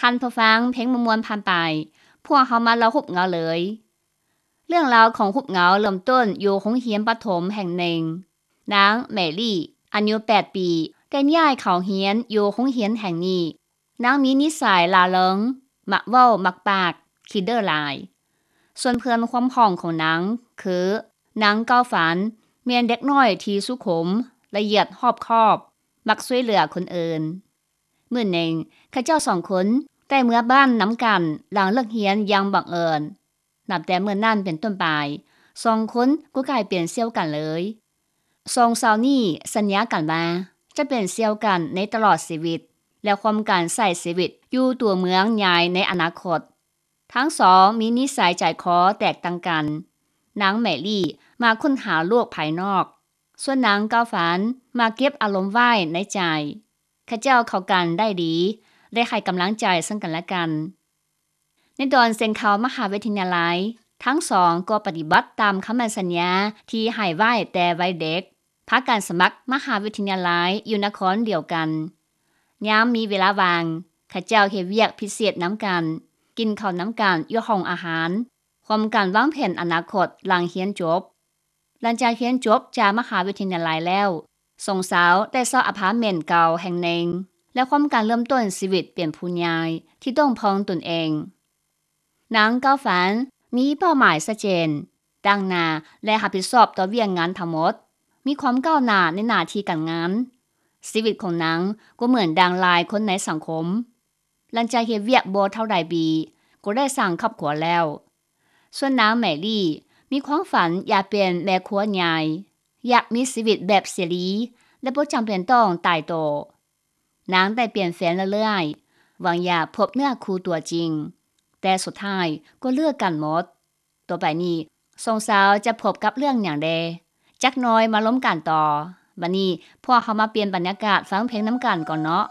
ທ່ານຜູ້ຟັງ, ເພງມ່ວນໆຜ່ານໄປ, ພວກເຮົາມາເລົ່າຮູບເງົາເລີຍ. ເລື່ອງລາວຂອງຮູບເງົາເລີ່ມຕົ້ນຢູ່ໂຮງຮຽນປະຖົມແຫ່ງໜຶ່ງ. ນາງແມຣີ ອາຍຸແປດປີ ໄດ້ຍ້າຍເຂົ້າຮຽນຢູ່ໂຮງຮຽນແຫ່ງນີ້. ນາງມີນິໄສລ່າເລິງ, ມັກເວົ້າ, ມັກປາກ, ຂີ້ເດີ້ຫຼາຍ. ສ່ວນເພື່ອນຮ່ວມຫ້ອງຂອງນາງຄື ນາງເກົ້າຝັນ, ແມ່ນເດັກນ້ອຍທີ່ສຸຂຸມ, ລະອຽດຮອບຄອບ, ມັກຊ່ວຍເຫຼືອຄົນອື່ນ. ມື້ໜຶ່ງ, ເຂົາເຈົ້າສອງຄົນໄດ້ເມືອບ້ານນຳກັນຫຼັງເລີກຮຽນຢ່າງບັງເອີນ. ນັບແຕ່ມື້ນັ້ນເປັນຕົ້ນໄປ, ສອງຄົນກໍກາຍເປັນສ່ຽວກັນເລີຍ. ສອງສາວນີ້ສັນຍາກັນວ່າຈະເປັນສ່ຽວກັນໃນຕະຫຼອດຊີວິດ ແລະ ຮ່ວມກັນໃຊ້ຊີວິດຢູ່ຕົວເມືອງໃຫຍ່ໃນອະນາຄົດ. ທັງສອງມີນິໄສໃຈຄໍແຕກຕ່າງກັນ. ນາງແມຣີມັກຄົ້ນຫາໂລກພາຍນອກ, ສ່ວນນາງເກົ້າຝັນມັກເກັບອາລົມໄວ້ໃນໃຈ. ເຂົາເຈົ້າເຂົ້າກັນໄດ້ດີ ແລະ ໃຫ້ກຳລັງໃຈເຊິ່ງກັນແລະກັນ. ໃນຕອນເຊັນເຂົ້າມະຫາວິທະຍາໄລ, ທັງສອງກໍປະຕິບັດຕາມຄຳໝັ້ນສັນຍາທີ່ໃຫ້ໄວ້ແຕ່ໄວເດັກ, ພາກັນສະໝັກມະຫາວິທະຍາໄລຢູ່ນະຄອນດຽວກັນ. ຍາມມີເວລາວ່າງ, ເຂົາເຈົ້າເຮັດວຽກພິເສດນຳກັນ, ກິນເຂົ້ານຳກັນຢູ່ຫ້ອງອາຫານ, ຮ່ວມກັນວາງແຜນອະນາຄົດຫຼັງຮຽນຈົບ. ຫຼັງຈາກຮຽນຈົບຈາກມະຫາວິທະຍາໄລແລ້ວ, ສອງສາວໄດ້ເຊົ່າອາພາດເມັນເກົ່າແຫ່ງໜຶ່ງ ແລະ ຮ່ວມກັນເລີ່ມຕົ້ນຊີວິດເປັນຜູ້ໃຫຍ່ທີ່ຕ້ອງເພິ່ງຕົນເອງ. ນາງເກົ້າຝັນມີເປົ້າໝາຍຊັດເຈນ, ຕັ້ງໜ້າ ແລະ ຮັບຜິດຊອບຕໍ່ວຽກງານທັງໝົດ, ມີຄວາມກ້າວໜ້າໃນໜ້າທີ່ການງານ. ຊີວິດຂອງນາງກໍເໝືອນດັ່ງຫຼາຍຄົນໃນສັງຄົມ. ຫຼັງຈາກເຮັດວຽກບໍ່ເທົ່າໃດປີ, ກໍໄດ້ສ້າງຄອບຄົວແລ້ວ. ສ່ວນນາງແມຣີ ມີຄວາມຝັນຢາກເປັນແມ່ຄົວໃຫຍ່, ຢາກມີຊີວິດແບບເສລີ ແລະ ບໍ່ຈຳເປັນຕ້ອງຕາຍໂຕ. ນາງໄດ້ປ່ຽນແຟນເລື້ອຍໆ, ຫວັງຢາກພົບເນື້ອຄູ່ຕົວຈິງ, ແຕ່ສຸດທ້າຍກໍເລີກກັນໝົດ. ຕໍ່ໄປນີ້ ສອງສາວຈະພົບກັບເລື່ອງຫຍັງແດ່? ຈັກໜ່ອຍມາລົມກັນຕໍ່. ບັດນີ້ພວກເຮົາມາປ່ຽນບັນຍາກາດຟັງເພງນຳກັນກ່ອນເນາະ.